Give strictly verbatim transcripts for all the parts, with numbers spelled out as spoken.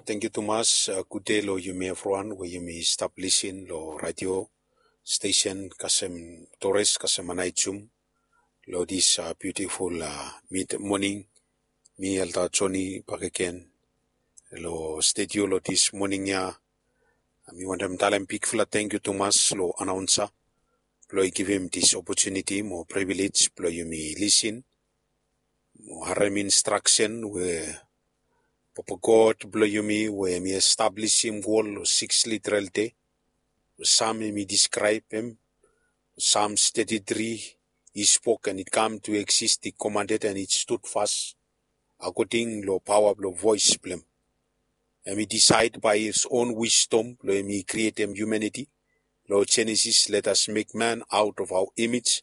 Tangkiu tumas, uh, gude long yumi evriwan we yumi stap lisin long radio stesen kasem Torres kasem Anaijum long dis, uh, biutiful, uh, mid moning. Mi Elder Joni bakegen long studio long dis moning ya. Mi wantem talem bigfala tangkiu tumas long anaonsa blong i givim dis opotuniti mo privilej blong yumi lisin mo harem instraksen we Papa God blong yumi we hemi establisim wol long siks literal dei. Sam hemi diskraebem, Psalms thirty-three, he spoke and it come to exist, he commanded and it stood fast, akoding long paoa blong voes blong hem. Hemi disaed by his own wisdom blong hemi krietem humaniti. Long Genesis, let us make man out of our image,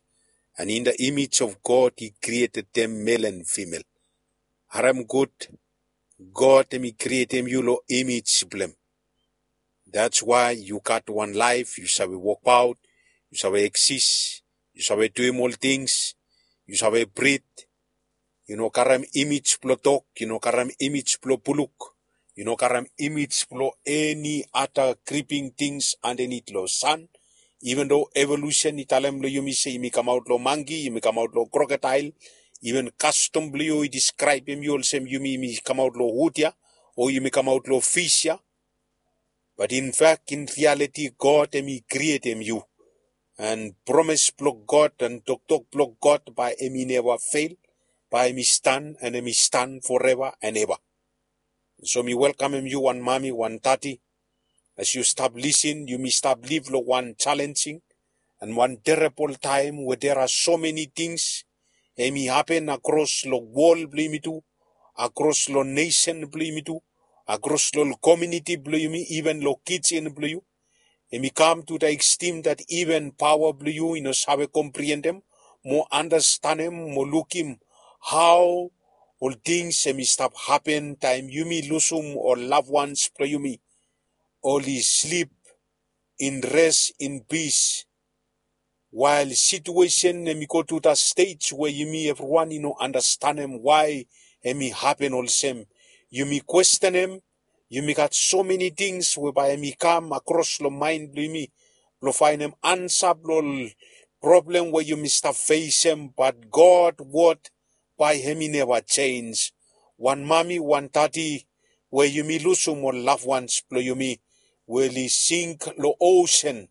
and in the image of God he created them, male and female. Harem gud, God hemi krietem yu long imej blong hem. That's why yu gat wan laef, yu save wokbaot, yu save eksis, yu save duim ol tings, yu save brit. Yu no karem imej blong dog, yu no karem imej blong buluk, yu no karem imej blong eni ada kriping tings andanit long san. Even though evolusen i talem long yumi se yumi kamaot long mangki, yumi kamaot long krokodael, even kastom blong yu i diskraebem yu olsem yumi, yumi kamaot long wud ya, o yumi kamaot long fis ya. But in fact, in reality, God hemi krietem yu. And promes blong God and toktok blong God bae hemi neva fel, bae hemi stan and hemi stan foreva and eva. So mi welkamem yu wan mami, wan dadi. As yu stap lisin, yumi stap liv long wan jalenjing and wan terebol taem we there are so many tings hemi hapen akros long wol blong yumi tu, akros long nesen blong yumi tu, akros long komuniti blong yumi, even long kijen blong yu. Hemi kam to the extent that even paoa blong yu i no save kompriendem mo andastanem mo lukim hao ol tings hemi stap hapen taem yumi lusum ol loved ones blong yumi oli slip in rest, in peace. Wael situesen hemi go to the stage we yumi evriwan i no andastanem wae hemi hapen olsem. Yumi kwestenem, yumi gat so many tings we bae hemi kam akros long maen blong yumi blong faenem ansa blong ol problem we yumi stap fesem, but God wod bae hemi neva jenj. Wan mami, wan dadi we yumi lusum ol loved ones blong yumi we oli sink long osen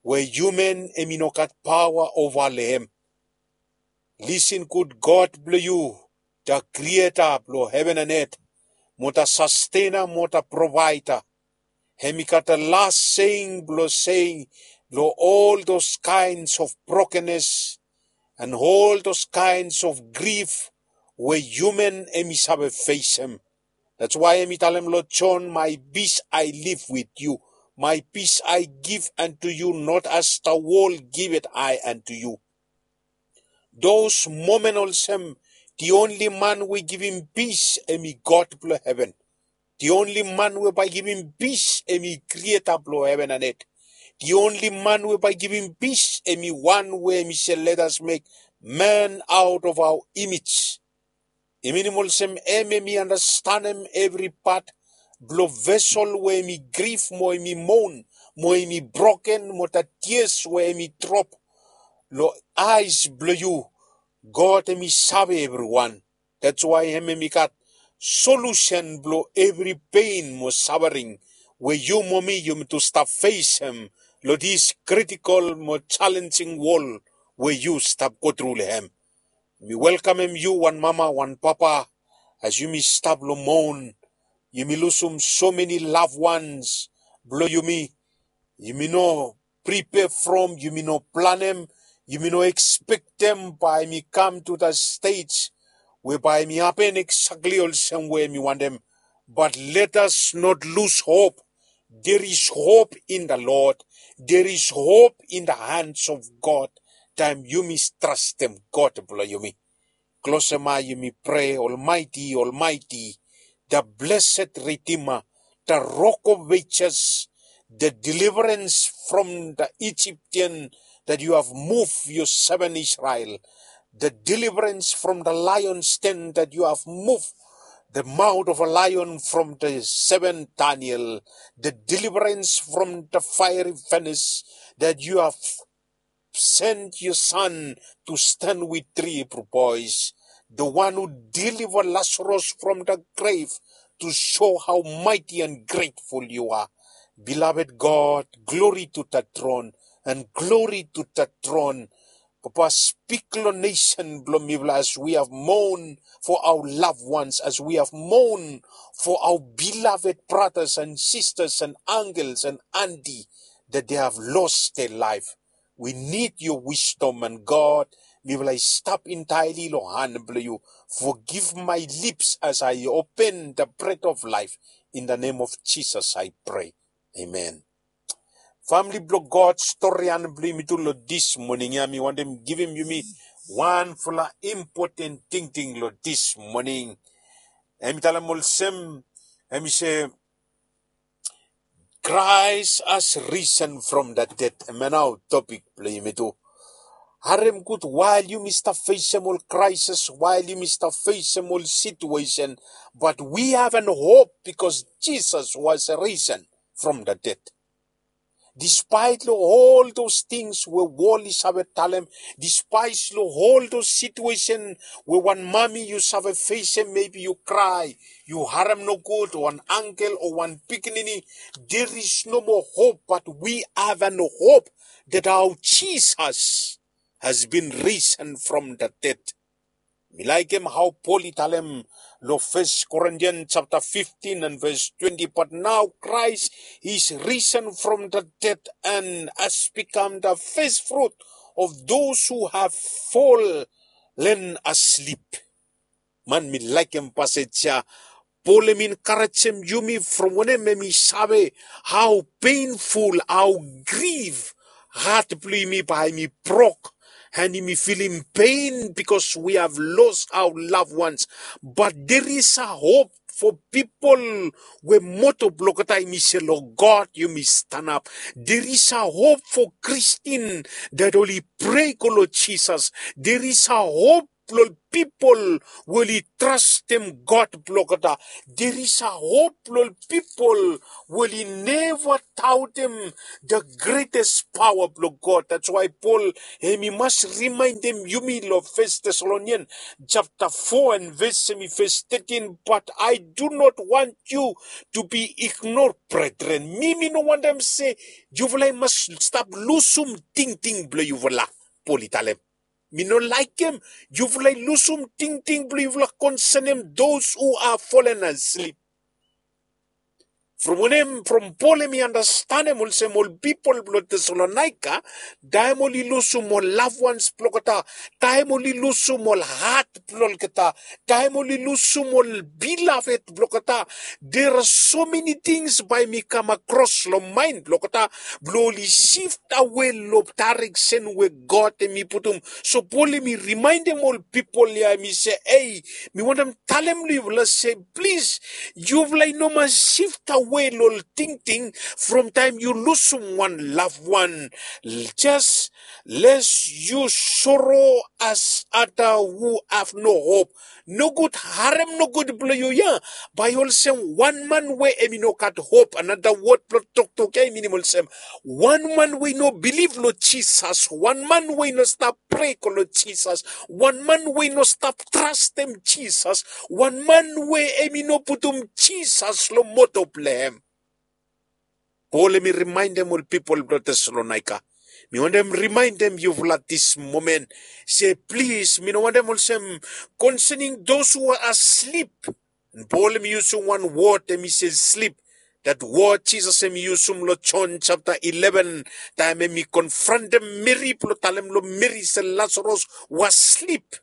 we human hemi no gat paoa ova long hem. Lisin gud, God blong yu, the creator blong heven and earth, mo the sustainer, mo the provider, hemi gat the last saying blong saying long all those kinds of brokenness and all those kinds of grief we human hemi save fesem. That's why hemi talem long John, "My peace I leave with you, my peace I give unto you, not as the world giveth I unto you." Those moment olsem, the only man we givim peace hemi God blong heven. The only man we bae givim peace hemi creator blong heven and earth. The only man we bae givim peace hemi wan we hemi se, "Let us make man out of our image." I minim olsem hem hemi andastanem evri pat blong vesel we hemi grif mo hemi moan mo hemi broken mo the tears we hemi drop long eyes blong yu. God hemi save evriwan. That's why hem hemi gat solusen blong evri pain mo safering we yu mo mi yumi tu stap fesem long this critical mo challenging world we yu stap go tru long hem. Mi welkamem yu wan mama, wan papa, as yumi stap long moan. Yumi lusum so many loved ones blong yumi. Yumi no prepare from, yumi no planem, yumi no expectem bae hemi kam to the stage we bae hemi hapen exactly olsem we hemi wantem. But let us not lose hope. There is hope in the Lord. There is hope in the hands of God. Taem yumi trastem God blong yumi. Klosem ae yumi prea, Almighty, Almighty, the blessed Redeemer, the Rock of Ages, the deliverance from the Egyptian that you have moved your servant Israel, the deliverance from the lion's den that you have moved the mouth of a lion, from the seven Daniel, the deliverance from the fiery furnace, that you have sent your son to stand with three Hebrew boys, the one who delivered Lazarus from the grave, to show how mighty and grateful you are. Beloved God, glory to the throne, and glory to the throne. Papa, spik long nesen blong mifala as we have mourn for our loved ones, as we have mourn for our beloved brothers and sisters and uncles and auntie that they have lost their life. We need your wisdom, and God, mifala i stap entirely long han blong yu. Forgive my lips as I open the bread of life. In the name of Jesus I pray. Amen. Famili blong God, stori han blong yumi tu long this morning ya, mi wantem givim yumi wanfala impoten tingting long this morning. Hemi talem olsem, hemi se, Christ has risen from the dead. Hemia nao topik blong yumi tu. Harem gud, wael yumi stap fesem ol crisis, wael yumi stap fesem ol situation, but we have an hope because Jesus was risen from the dead. Despite long ol those things we wol i save talem, despite long ol those situation we wan mami yu save fesem, maybe yu cry, yu harem nogud, wan uncle o wan pikinini, there is no more hope, but we have an hope that our Jesus has been risen from the dead. Mi laikim hao Pol i talem long First Corinthians chapter fifteen and verse twenty, but now Christ is risen from the dead and has become the first fruit of those who have fallen asleep. Man, mi laikim pasej ya. Pol hemi encourajem yumi from wanem hemi save hao painful, hao grief hat blong yumi bae hemi brok, and yumi filim pain because we have lost our loved ones. But there is a hope for people we moto blong olgeta hemi se long God yumi stanap. There is a hope for Christian that oli prea go long Jesus. There is a hope blong ol pipol we oli trastem God blong olgeta. There is a hope blong ol pipol we oli neva daotem the greatest power blong God. That's why Pol hemi mas rimaendem yumi long First Thessalonians chapter four and verse hemi verse thirteen, but I do not want you to be ignored, brethren. Mi, mi no wantem se yufala i mas stap lusum tingting blong yufala, Pol i talem. Mi no laikim yufala i lusum tingting blong yufala concerning those who are fallen asleep. From wanem, from Pol hemi andastanem olsem ol pipol blong Thessalonica, taem oli lusum ol loved ones blong olgeta, taem oli lusum ol hat blong olgeta, taem oli lusum ol beloved blong olgeta, there are so many things bae hemi come across long mind blong olgeta blong oli shift away long direction we God hemi putum. So Pol hemi rimaendem ol pipol ya, hemi se, ei, mi wantem talem long yufala se, plis, yufala i no mas shift away long ol tingting from taem yu lusum wan loved one. Just lest you sorrow as other who have no hope. Nogud, harem nogud blong yu ya. Bae olsem wan man we hemi no gat hope. Another word blong toktok ya i minim olsem wan man we i no bilif long Jisas, wan man we i no stap prea go long Jisas, wan man we i no stap trastem Jisas, wan man we hemi no putum Jisas long moto blong hem. Pol hemi rimaendem ol pipol blong Thessalonica. Mi wantem rimaendem yufala this moment se, plis, mi no wantem olsem concerning those who are asleep. And Pol hemi yusum wan word, hemi se sleep. That word Jisas hemi yusum long John chapter eleven, taem hemi konfrontem Meri blong talem long Meri se Lazarus was sleep.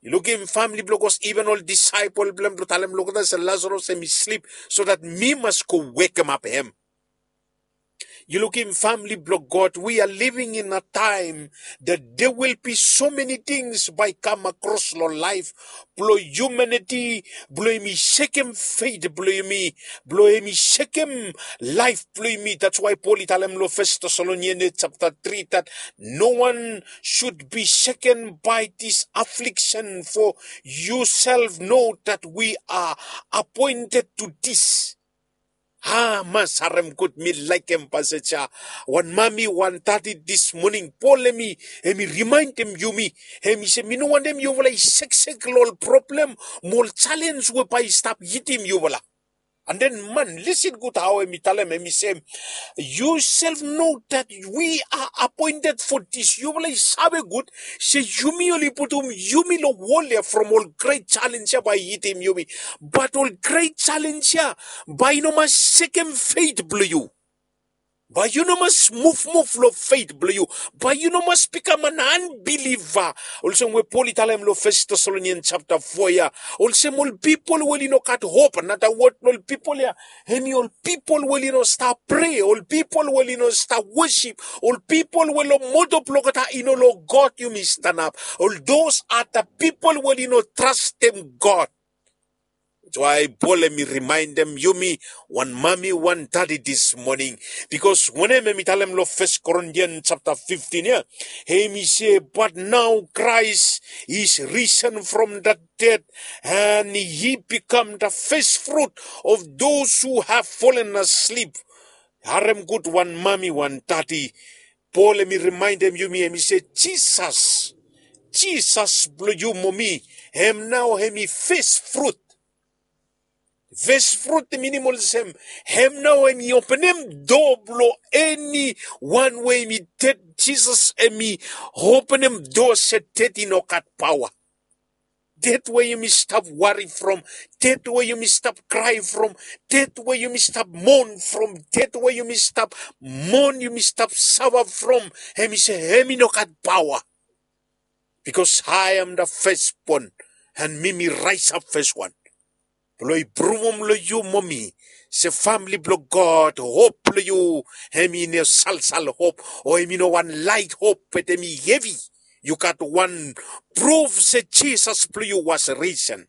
Yu lukim famili blong God, even ol disaepol blong hem blong talem long olgeta se Lazarus hemi slip, so that mi mas go wekemap hem. Yu lukim, famili blong God, we are living in a time that there will be so many things bae i kam akros long laef blong humanity, blong yumi sekem faith blong yumi, blong yumi sekem laef blong yumi. That's why Paul i talem long First Thessalonians chapter three that no one should be shaken by this affliction, for yourself know that we are appointed to this. Ha, mas harem gud, mi laekem pasej ya. Wan mami, wan dadi, this morning, Paul hemi, hemi rimaendem yumi. Hemi se, mi no wantem yufala i seksek long ol problem mo ol challenge we bae i stap hitim yufala. And then man, listen gud hao hemi talem, hemi se, you self know that we are appointed for this. Yufala i save gud se yumi oli putum yumi long wol ya from ol great challenge ya bae i hitim yumi. But ol great challenge ya bae i no mas sekem faith blong yu. Bae yu no mas muvmuv long faith blong yu. Bae yu no mas bikam an unbeliever. Olsem we Paul i talem long First Thessalonians chapter four ya. Olsem ol pipol we oli no gat hop. Another word, ol pipol ya, hemi ol pipol we oli no stap prea, ol pipol we oli no stap wosip, ol pipol we long moto blong olgeta i no long God yumi stanap. Ol those are the people we oli no trastem God. That's why Paul hemi rimaendem yumi, wan mami, wan dadi, this morning. Because wanem hemi talem long First Corinthians chapter fifteen ya? Hemi se, but now Christ is risen from the dead, and he become the first fruit of those who have fallen asleep. Harem gud, wan mami, wan dadi. Paul hemi rimaendem yumi, hemi se Jisas, Jisas blong yu mo mi, hem nao hemi first fruit. First fruit i minim olsem, hem nao hemi openem doa blong eni wan we hemi ded. Jisas hemi openem doa se ded i no gat paoa. Ded we yumi stap wari from, ded we yumi stap krae from, ded we yumi stap mon from, ded we yumi stap mon, yumi stap safa from, hemi se hemi no gat paoa. Because I am the firstborn, and mi mi raesap feswan blong i pruvum long yu mo mi se famili blong God, hop blong yu hemi no salsal hop, o hemi no wan laet hop, be hemi hevi. Yu gat wan pruf se Jisas blong yu was risen.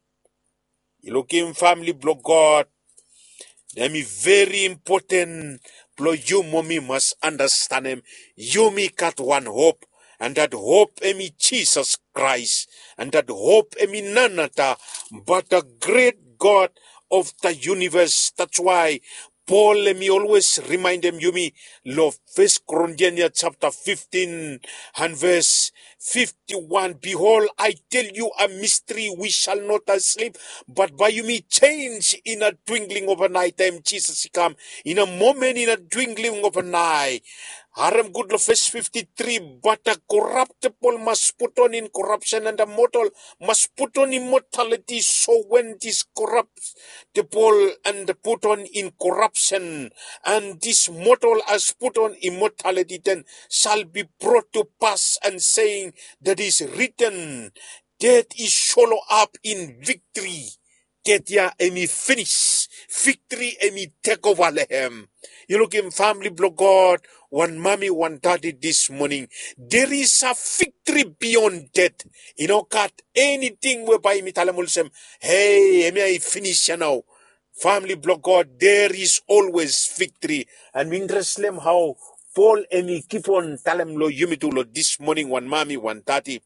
Yu lukim, famili blong God, hemi veri impoten blong yu mo mi mas andastanem, yumi gat wan hop, and that hop hemi Jisas Kraes, and that hop hemi nanata but the great God of the universe. That's why Paul hemi always rimaendem yumi long First Corinthians chapter fifteen and verse fifty-one, behold, I tell you a mystery, we shall not sleep, but by yumi change in a twinkling of an eye. Taem Jisas i kam, in a moment, in a twinkling of an eye. Harem gud long verse fifty-three, but the corruptible must put on incorruption, and the mortal must put on immortality. So when this corruptible and put on incorruption, and this mortal has put on immortality, then shall be brought to pass and saying that is written, death is swallow up in victory. Death ya hemi finis. Victory hemi tek ova long hem. Yu lukim, famili blong God, wan mami, wan dadi, this morning, there is a victory beyond death. I no gat eniting we bae yumi talem olsem, hei, hemia i finis ya nao. Famili blong God, there is always victory. And mi interested long hao Paul hemi kipon talem long yumi tu long this morning, wan mami, wan dadi.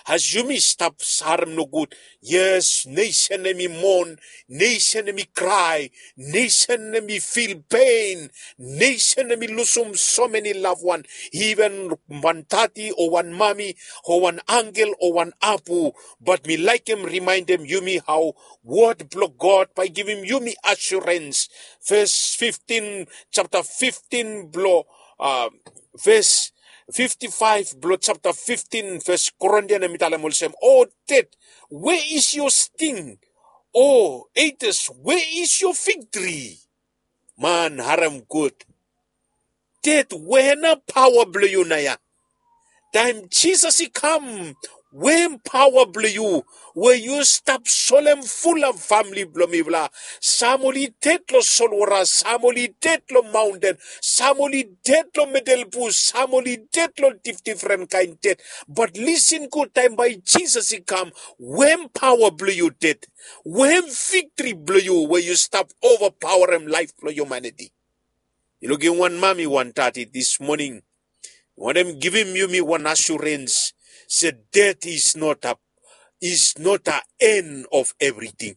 As yumi stap harem nogud, yes, nesen hemi mon, nesen hemi krae, nesen hemi fil pen, nesen hemi lusum so many loved one, even wan dadi o wan mami o wan angkel o wan apu. But mi laekem rimaendem yumi hao wod blong God bae i givim yumi asurens. Verse fifteen, chapter fifteen blong, uh, verse fifty-five blong chapter fifteen, First Corinthians, hemi talem olsem, O death, where is your sting? O Hades, where is your victory? Man, harem gud. Death, where na paoa blong yu naoia? Taem Jisas i kam, Wetem paoa blong yu we yu stap solem fulap famili blong mifala. Sam oli ded long solwota, sam oli ded long maonten, sam oli ded long midel bus, sam oli ded long difdifren kaen ded. Bat lisin gud, taem bae Jisas i kam, wetem paoa blong yu ded, wetem viktri blong yu we yu stap ovapaoarem laef blong hiumaniti. Yu lukim wan mami, wan dadi dis moning, wantem givim yumi wan asurens se ded is not a, is not a en of evriting.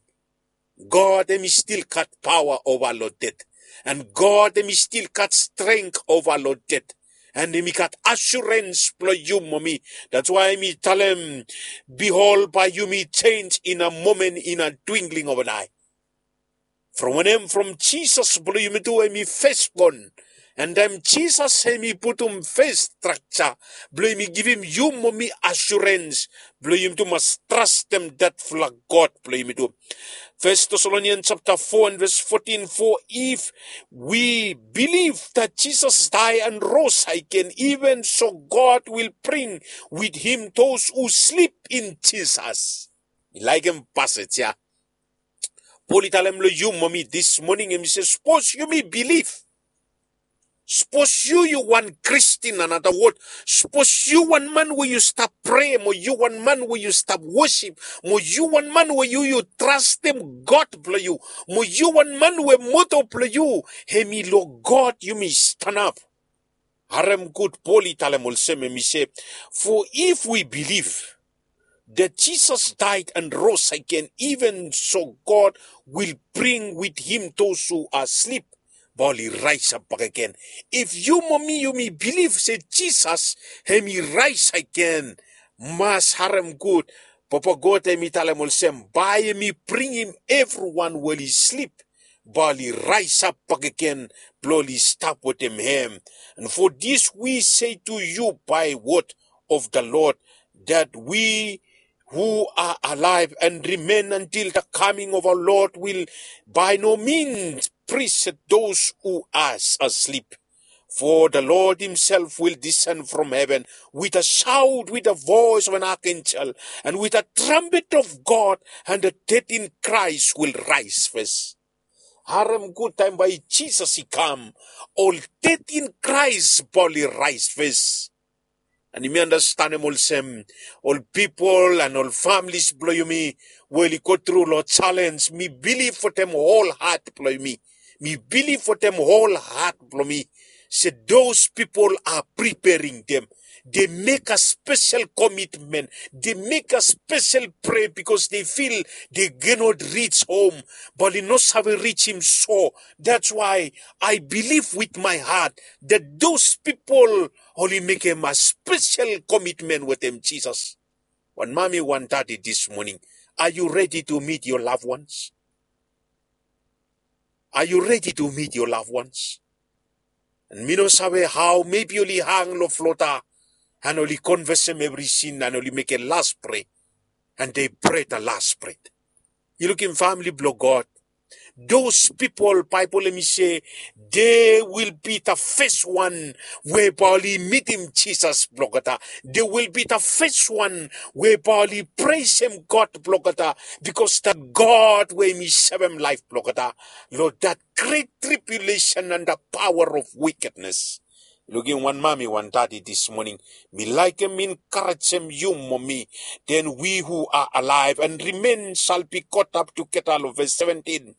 God hem i stil gat paoa ova long ded, and God hem i stil gat strength ova long ded, and hem i gat asurens blong yu mo mi. That's why hem i talem, "Behold, bae yumi jenj in a moment, in a twinkling of an eye." From wanem? From Jisas blong yumi tu hem i fesbon. And taem Jisas hem i putum fes strakja blong hem i givim yu mo mi asurens blong yumi tu mas trastem detfala God blong yumi tu. First Thessalonians chapter four and verse fourteen, "For if we believe that Jesus died and rose again, even so God will bring with him those who sleep in Jesus." Mi laekem passage ya. Pol i talem long yu mo mi dis moning, hem i se, sapos yumi bilif, sapos yu, yu wan Kristin, another word, sapos yu wan man we yu stap prea, mo yu wan man we yu stap wosip, mo yu wan man we yu, yu trastem God blong yu, mo yu wan man we moto blong yu hem i long God yumi stanap. Harem gud, Pol i talem olsem, hem i se, "For if we believe that Jesus died and rose again, even so God will bring with him those who are asleep." Bae oli raesap bakegen. If yu mo mi yumi bilif se Jisas hem i raes agen, mas harem gud. Papa God hem i talem olsem, bae hem i bringim evriwan we oli slip, bae oli raesap bakegen blong oli stap wetem hem. And for this we say to you by word of the Lord, that we who are alive and remain until the coming of our Lord will by no means precede those who are asleep. For the Lord himself will descend from heaven with a shout, with the voice of an archangel, and with the trumpet of God, and the dead in Christ will rise first. Harem gud, taem bae Jisas i kam, ol ded in Kraes bae oli raes fes. And yumi andastanem olsem, ol pipol and ol familis blong yumi we oli go tru long jalenj, mi bilif wetem hol hat blong yumi, mi bilif wetem hol hat blong mi, se those people are preparing them. They make a special commitment. They make a special prayer because they feel they cannot reach home. Bae oli no save rijim so. That's why I believe with my heart that those people oli mekem a special commitment wetem Jisas. Wan mami, wan dadi, this morning, are you ready to meet your loved ones? Are you ready to meet your loved ones? And mi no save hao, maybe oli hang long flota, and oli konfesem evri sin, and oli mekem las prea, and they pray the last prayer. Yu lukim, famili blong God, those people, Baebol hemi se, they will be the first one we bae oli mitim Jisas blong olgeta. They will be the first one we bae oli presem God blong olgeta, because that God we hemi sevem laef blong olgeta long that great tribulation and the power of wickedness. Lukim, wan mami, wan dadi, this morning, mi laekem enkarejem yu mo mi. Then we who are alive and remain shall be caught up together, long verse seventeen,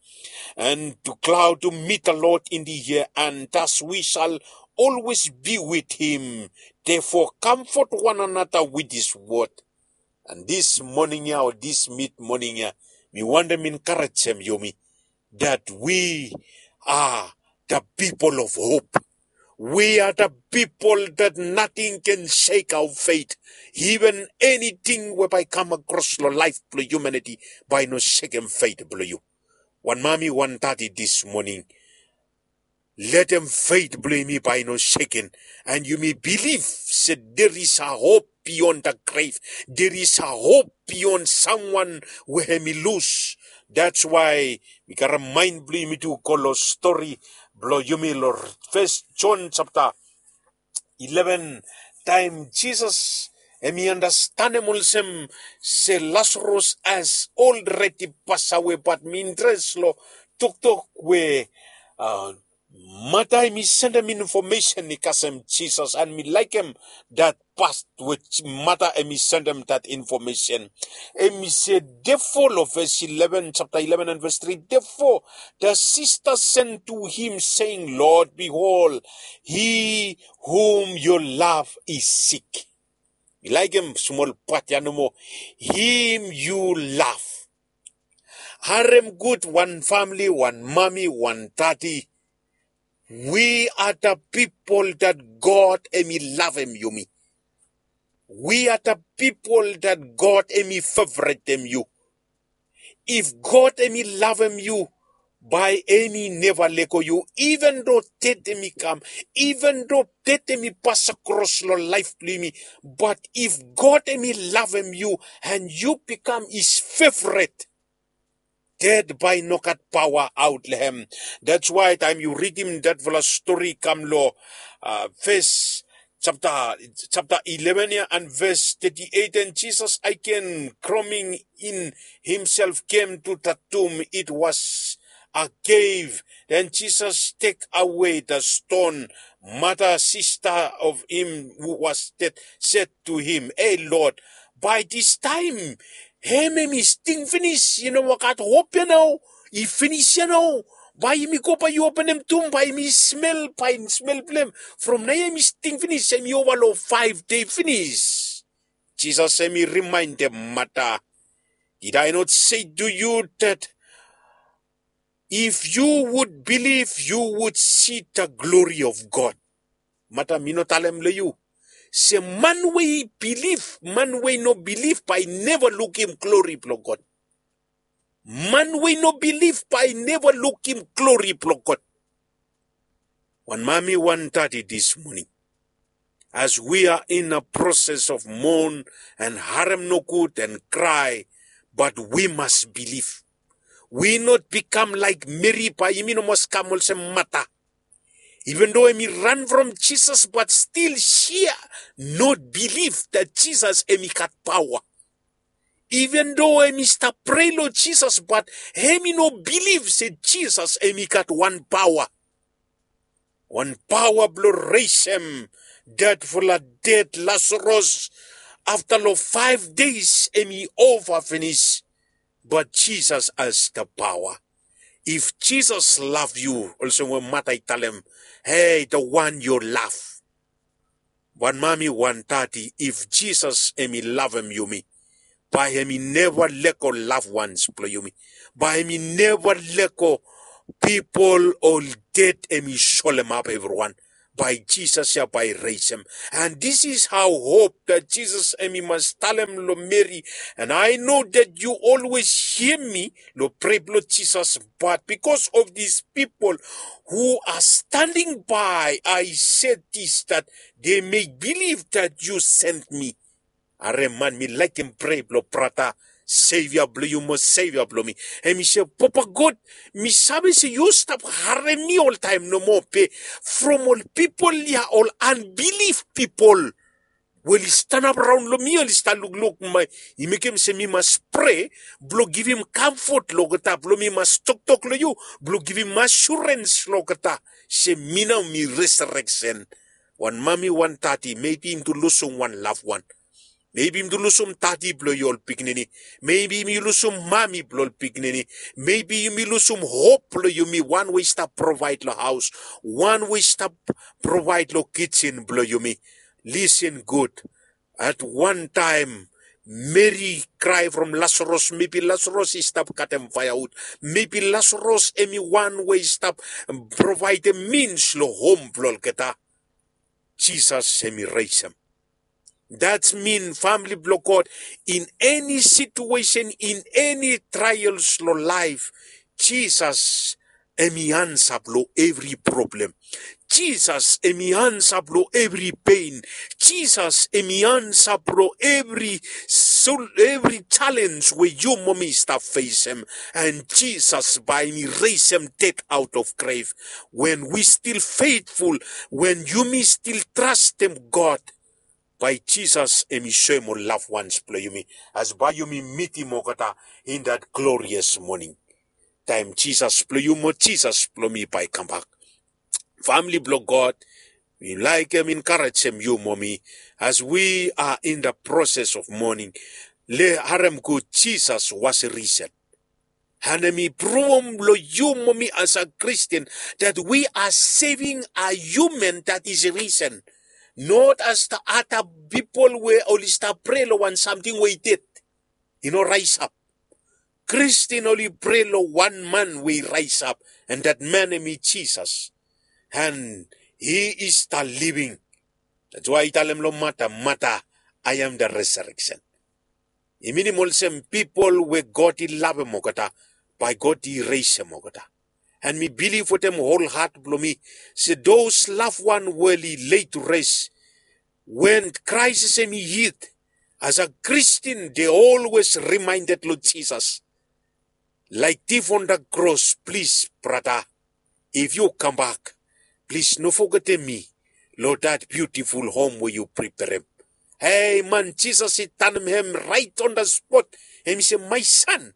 and to cloud to meet the Lord in the air, and thus we shall always be with him. Therefore, comfort one another with this word. And this morning ya, o this mid morning ya, mi wantem enkarejem yumi that we are the people of hope. We are the people that nothing can shake our faith. Even anything we bae i kam across long laef blong humanity, bae i no sekem faith blong yu. Wan mami, wan dadi, this morning, letem faith blong yumi bae i no seken, and yumi bilif se there is a hope beyond the grave. There is a hope beyond someone we hemi lus. That's why mi karem maen blong yumi tu go long stori blong yumi long First John chapter eleven, taem Jisas Hem i andastanem olsem se Lasarus has already pasawe, bat mi interes lo toktok we mata hem i sendem infomesen i kasem Jisas, and mi laekem dat pas we mata hem i sendem dat infomesen. Hem i se defo lo ves eleven, chapter eleven and ves tri, defo the sister sent to him, saying, Lord, behold, he whom you love is sick. Mi laekem smol pat ya nomo. Him you love. Harem gud, wan famili, wan mami, wan dadi. We are the people that God hem i lavem yumi. We are the people that God hem i favoretem yu. If God hem i lavem yu, bae hem i neva lego yu, even though ded hem i kam, even though ded hem i pas akros lo laef blo yumi. But if God hem i lavem yu and yu bikam his favorite, ded bae i no gat paoa aot lo hem. That's why taem yu ridim datfala stori i kam lo ves chapter, chapter eleven ya and ves thirty-eight, and Jesus again groaning in himself came to the tomb. It was a cave. Then Jesus take away the stone. Mother, sister of him who was dead, said to him, Hey Lord, by this time, hem hem i sting finis, i no gat hop ya nao, i finis ya nao. Bae yumi go, bae yu openem tomb, bae yumi smel, bae smel blo hem. From naoia hem i sting finis, hem i ova lo five day finis. Jesus hem i remaindem Mata, did I not say to you that if you would believe, you would see the glory of God? Mata, mi no talem lo yu se man we i bilif, man we i no bilif bae i neva lukim glori blo God. Man we i no bilif bae i neva lukim glori blo God. Wan mami, wan dadi, this morning, as we are in a process of mourn and harem nogud and cry, but we must believe. We not become like Meri, bae yumi no mas kam olsem Mata. Even though hem i ran from Jesus, but still she not believe that Jesus hem i gat paoa. Even though hem i stap prea lo Jesus, but hem i no bilif se Jesus hem i gat wan paoa. Wan paoa blo resem datfala ded Lasarus. Afta lo five days hem i ova finis. But Jesus has the power. If Jesus love yu, olsem we Mata i talem, hey, the one you love. Wan mami, wan dadi, if Jesus hem i lavem yumi, bae hem i neva lego loved ones blo yumi. Bae hem i neva lego pipol o ded hem i solemap evriwan. Bae Jesus ya bae i resem. And this is how hope that Jesus hem i mas talem lo Meri. And I know that you always hear me lo prea blo Jesus, but because of these people who are standing by, I said this, that they may believe that you sent me. Harem, man, mi laekem prea blo brata, Sevia blo yu mo Sevia blo mi. Hem i se, Papa God, mi save se yu stap harem mi oltaem nomo, be from ol pipol ya, ol unbelief pipol we oli stanap raon lo mi, oli stap lukluk, i mekem se mi mas prea blo givim kamfot lo olgeta, blo mi mas toktok lo yu, blo givim asurens lo olgeta se mi nao mi resareksen. Wan mami, wan dadi, maybe yumi tu lusum wan loved one. Maybe yumi tu lusum dadi blo yu ol pikinini. Maybe yumi lusum mami blo ol pikinini. Maybe yumi lusum hope blo yumi, wan we i stap provaed lo haos, wan we i stap provaed lo kijen blo yumi. Listen good. At wan taem, Meri i krae from Lasarus. Maybe Lasarus i stap katem faeaud. Maybe Lasarus hem i wan we i stap provaedem means lo hom blo olgeta. Jesus hem i resem. That mean, famili blo God, in any situation, in any trials lo laef, Jesus hem i ansa blo evri problem. Jesus hem i ansa blo evri pen. Jesus hem i ansa blo evri, evri challenge we yu mo mi i stap fesem. And Jesus bae hem i resem ded out of grave. When we still faithful, when yumi still trastem God, Bae Jisas hemi soem ol loved ones blong yumi, as bae yumi mitim olgeta in that glorious morning. Taem Jisas blong yu mo Jisas blong mi bae kambak. Famili blong God, mi laekem enkarejem yu mo mi, as we are in the process of mourning. Harem gud, Jisas was risen. And hemi pruvum long yu mo mi as a Christian that we are saving a human that is risen. Not as the other people we oli stap prea long wan samting we i ded, i no raesap. Christian oli prea long wan man we i raesap, and that man hemi Jisas. And he is the living. That's why i talem long Mata, Mata, I am the resurrection. I minim olsem pipol we God i lavem olgeta, bae God i resem olgeta. And mi bilif wetem hol hat blong mi se those loved one we oli lay to rest, when crisis hemi hit, as a Christian they always reminded long Jisas. Like thief on the cross, plis brata, if yu kambak, plis no fogetem mi long that beautiful home we yu preperem. Hei man, Jisas i tanem hem right on the spot. Hemi se, my son,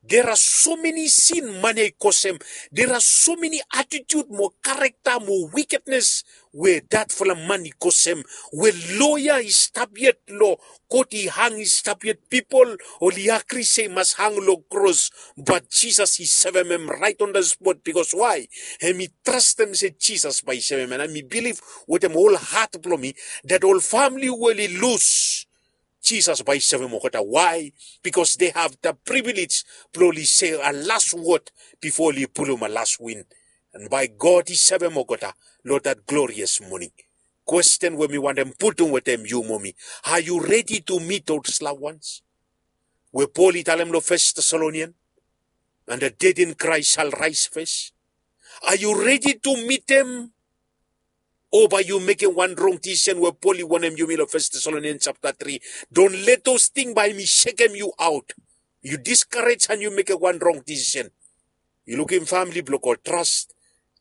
there are so many sin man ya i kosem. There are so many attitude mo character mo wickedness we datfala man i kosem, we lo ya i stap yet lo kot i hang i stap yet, pipol oli agri se i mas hang lo kros, bat Jisas i sevem hem right on the spot. Because why? Hemi trastem se Jisas bae i sevem hem. And mi bilif wetem hol hat blong mi that ol famili we oli lus, Jisas bae i sevem olgeta. Why? Because they have the privilege blong oli se a las wod bifo oli pulum a las win. And bae God i sevem olgeta lo that glorious morning. Kwesten we mi wantem putum wetem yu mo mi, are you ready to meet those loved ones we Pol i talem lo First Thessalonian? And the dead in Christ shall rise first. Are you ready to meet them? O bae yu mekem wan rong disisen we Pol i wonem yumi lo First Thessalonian chapter three. Don't let those things bae hemi sekem yu aot. Yu discourage and yu mekem wan rong disisen. Yu lukim, famili blong God, trust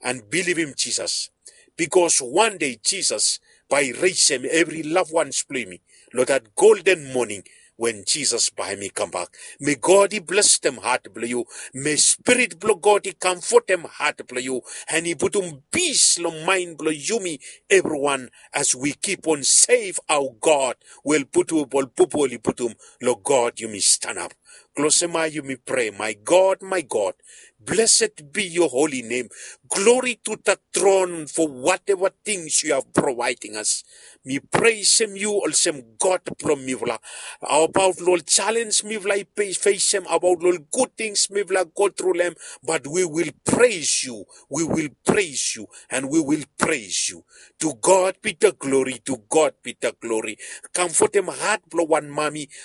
and bilivim Jisas. Because wan dei Jisas bae i resem evri loved ones blong yumi lo that golden morning when Jisas bae hemi kambak. May God i blesem hat blong yu. May Spirit blong God i kamfotem hat blong yu, and i putum pis lo maen blong yumi evriwan, as we keep on save our God. Wel putum ol pupu oli putum lo God yumi stanap. Klosem ae yumi prea. My God, my God, blessed be your holy name. Glory to the throne for whatever things you have providing us. Mi presem yu olsem God blong mifala. Abaot lo ol challenge mifala i pe- fesem, abaot lo ol good things mifala go through lo hem, but we will praise you. We will praise you and we will praise you. To God be the glory, to God be the glory. Kamfotem hat blong wan mami